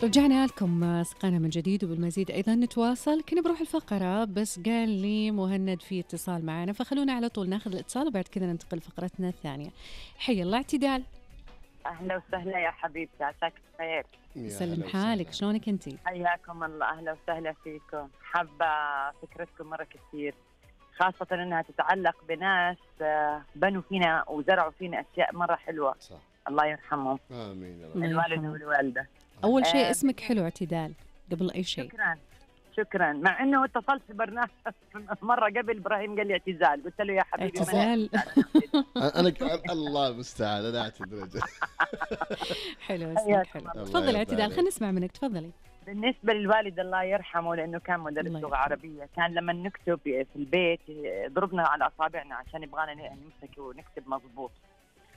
رجعنا لكم أصدقائنا من جديد وبالمزيد أيضا نتواصل. كنا بروح الفقرة بس قال لي مهند في اتصال معنا، فخلونا على طول ناخذ الاتصال وبعد كذا ننتقل لفقرتنا الثانية. حي الله اعتدال. أهلا وسهلا يا حبيبتي، عساك بخير. سلم حالك، شلونك انتي؟ حياكم الله، أهلا وسهلا فيكم. حابة فكرتكم مرة كثير، خاصة أنها تتعلق بناس بنوا فينا وزرعوا فينا أشياء مرة حلوة. صح. الله يرحمهم. آمين. الوالد والوالدة. أول شيء اسمك حلو اعتدال قبل أي شيء. شكرا. مع انه اتصلت في برنامج مره قبل، ابراهيم قال لي اعتزال، قلت له يا حبيبي اعتزال. انا الله المستعان، انا اعتذر. حلو اسمك حلو. تفضلي اعتدال، خلينا نسمع منك، تفضلي. بالنسبه للوالد الله يرحمه، لانه كان مدرس لغه عربيه، كان لما نكتب في البيت ضربنا على اصابعنا عشان يبغانا نمسك ونكتب مضبوط.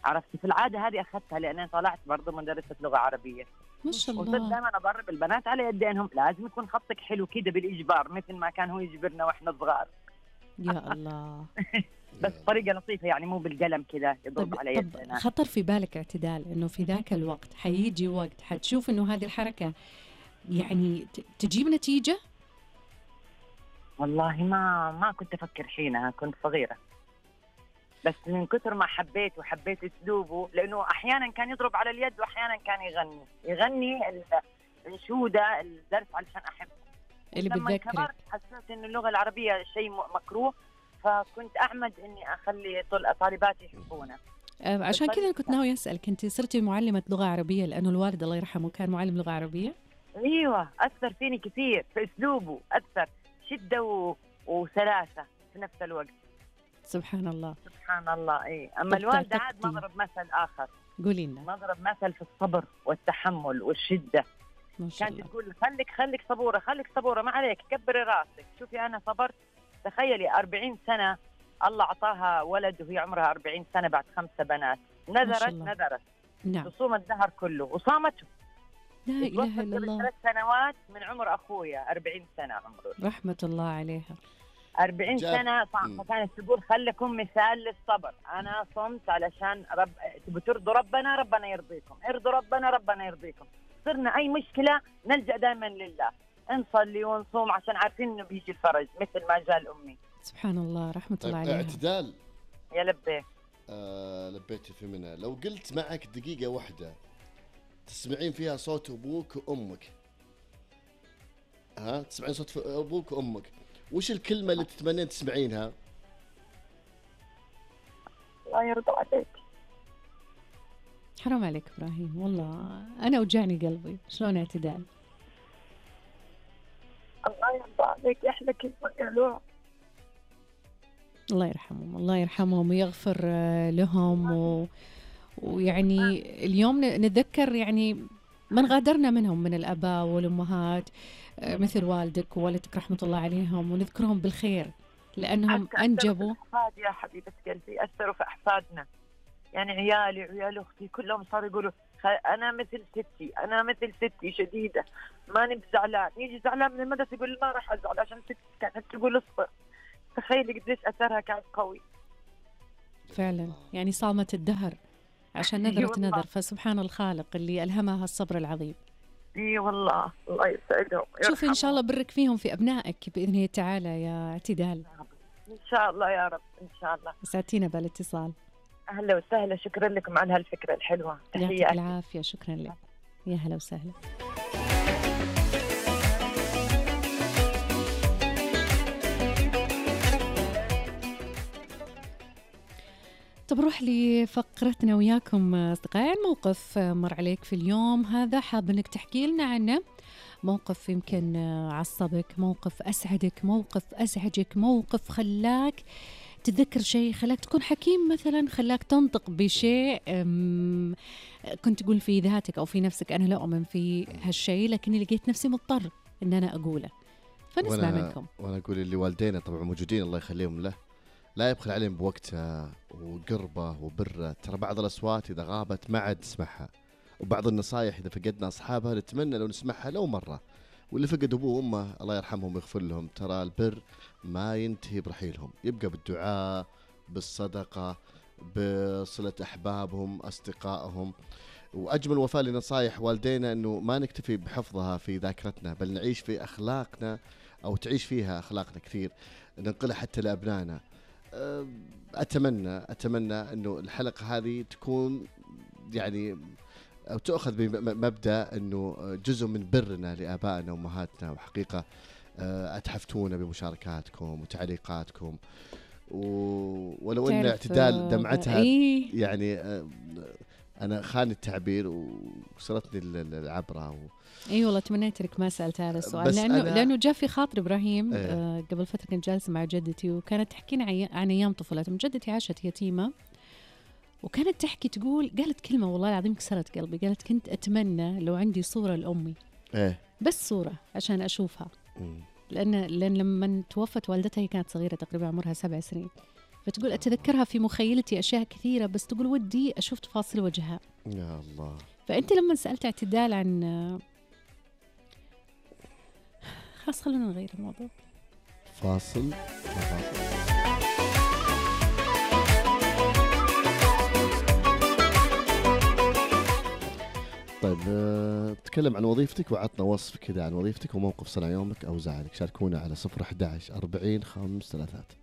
عرفتي في العاده هذه اخذتها لان طلعت برضه مدرسه لغه عربيه. ما شاء الله. وصرت دائما اضرب البنات على يدينهم، لازم يكون خطك حلو كده بالاجبار، مثل ما كان هو يجبرنا واحنا صغار. يا الله. بس طريقه لطيفه يعني، مو بالقلم كده يضرب على يدنا. خطر في بالك اعتدال انه في ذاك الوقت حيجي وقت حتشوف انه هذه الحركه يعني تجيب نتيجه؟ والله ما كنت افكر حينها، كنت صغيره، بس من كثر ما حبيت اسلوبه، لانه احيانا كان يضرب على اليد واحيانا كان يغني الانشوده الدرس علشان احب. اللي بتذكرك. لما كبرت حسيت انه اللغه العربيه شيء مكروه، فكنت اعمد اني اخلي طالباتي يحبونه. عشان كذا كنت ناوي اسالك، انت صرتي معلمه لغه عربيه لانه الوالد الله يرحمه كان معلم لغه عربيه؟ ايوه، اثر فيني كثير في اسلوبه، اثر شده وسلاسه في نفس الوقت. سبحان الله سبحان الله. اي اما الوالده عاد مضرب مثل اخر. قولي لنا. مضرب مثل في الصبر والتحمل والشده. كانت تقول خليك صبوره، ما عليك، كبري راسك. شوفي انا صبرت، تخيلي 40 سنه الله اعطاها ولد وهي عمرها 40 سنه بعد 5 بنات. نذرت نعم. تصوم الدهر كله وصامته. لا اله الا الله. 3 سنوات من عمر اخويا، 40 سنه عمره. رحمه الله عليها. 40 سنة فكانت تقول خلكم مثال للصبر. أنا صمت علشان تبوا ترضوا ربنا يرضيكم، ارضوا ربنا يرضيكم. صرنا أي مشكلة نلجأ دائما لله، نصلي ونصوم عشان عارفين إنه بيجي الفرج، مثل ما جاء الأمي. سبحان الله، رحمة الله عليها. اعتدال. يا لبيه. لبيتي في منها. لو قلت معك دقيقة واحدة تسمعين فيها صوت أبوك وأمك، تسمعين صوت أبوك وأمك، وش الكلمة اللي تتمنين تسمعينها؟ الله يرضى عليك. حرام عليك إبراهيم، والله أنا وجعني قلبي. شلون اعتدال؟ الله يرضى عليك، أحلى كلمة قالوها. الله يرحمهم ويغفر لهم ويعني اليوم نتذكر يعني من غادرنا منهم من الآباء والأمهات، مثل والدك ووالدتك رحمة الله عليهم، ونذكرهم بالخير لأنهم أنجبوا. يا حبيبة قلبي، أثروا في أحفادنا، يعني عيالي وعيال أختي كلهم صاروا يقولوا أنا مثل ستي شديدة، ما نبي زعلان. يجي زعلان من المدرسة يقول ما راح أزعل عشان ستي كانت تقول اصبر. تخيلي قديش أثرها كان قوي فعلا، يعني صامت الدهر عشان نذر. فسبحان الخالق اللي ألهمها الصبر العظيم. اي والله، الله يسعدهم. شوفي ان شاء الله برك فيهم في ابنائك باذن الله تعالى يا اعتدال. ان شاء الله يا رب، ان شاء الله. ساعتينا بالاتصال. اهلا وسهلا، شكرا لكم على هالفكره الحلوه. يعطيك العافيه، شكرا لك. يا هلا وسهلا. طب نروح لفقرتنا وياكم أصدقائي. موقف مر عليك في اليوم هذا حاب أنك تحكي لنا عنه، موقف يمكن عصبك، موقف أسعدك، موقف أزعجك، موقف خلاك تتذكر شيء، خلاك تكون حكيم مثلا، خلاك تنطق بشيء كنت تقول في ذاتك أو في نفسك أنا لا أؤمن في هالشيء لكني لقيت نفسي مضطر أن أنا أقوله. فنسمع منكم. وأنا أقول اللي والدينا طبعا موجودين الله يخليهم له، لا يبخل عليهم بوقتها وقربه وبره. ترى بعض الأصوات إذا غابت ما عاد نسمعها، وبعض النصايح إذا فقدنا أصحابها نتمنى لو نسمعها لو مرة. واللي فقد أبوه وأمه الله يرحمهم ويغفر لهم، ترى البر ما ينتهي برحيلهم، يبقى بالدعاء، بالصدقة، بصلة أحبابهم، أصدقائهم. وأجمل وفاء لنصائح والدينا أنه ما نكتفي بحفظها في ذاكرتنا، بل نعيش في أخلاقنا، أو تعيش فيها أخلاقنا كثير، ننقلها حتى لأبنائنا. أتمنى أنه الحلقة هذه تكون يعني أو تأخذ بمبدأ أنه جزء من برنا لآبائنا وأمهاتنا، وحقيقة أتحفتونا بمشاركاتكم وتعليقاتكم، ولو أن اعتدال دمعتها يعني أنا خان التعبير وصلتني العبرة اي والله تمنيت لك ما سألت هذا السؤال، لأنه جاء في خاطر إبراهيم. قبل فترة كنت جالسة مع جدتي وكانت تحكينا عن أيام طفولتها. جدتي عاشت يتيمة، وكانت تحكي تقول، قالت كلمة والله العظيم كسرت قلبي، قالت كنت أتمنى لو عندي صورة لأمي، بس صورة عشان أشوفها. لأن لما توفت والدتها هي كانت صغيرة تقريبا عمرها 7 سنين، فتقول أتذكرها في مخيلتي أشياء كثيرة، بس تقول ودي أشوف تفاصيل وجهها. يا الله. فأنت لما سألت اعتدال عن خلاص خلونا نغير الموضوع. فاصل. طيب تكلم عن وظيفتك وعطنا وصف كذا عن وظيفتك وموقف صنع يومك أو زعلك. شاركونا على 011 40 5 3.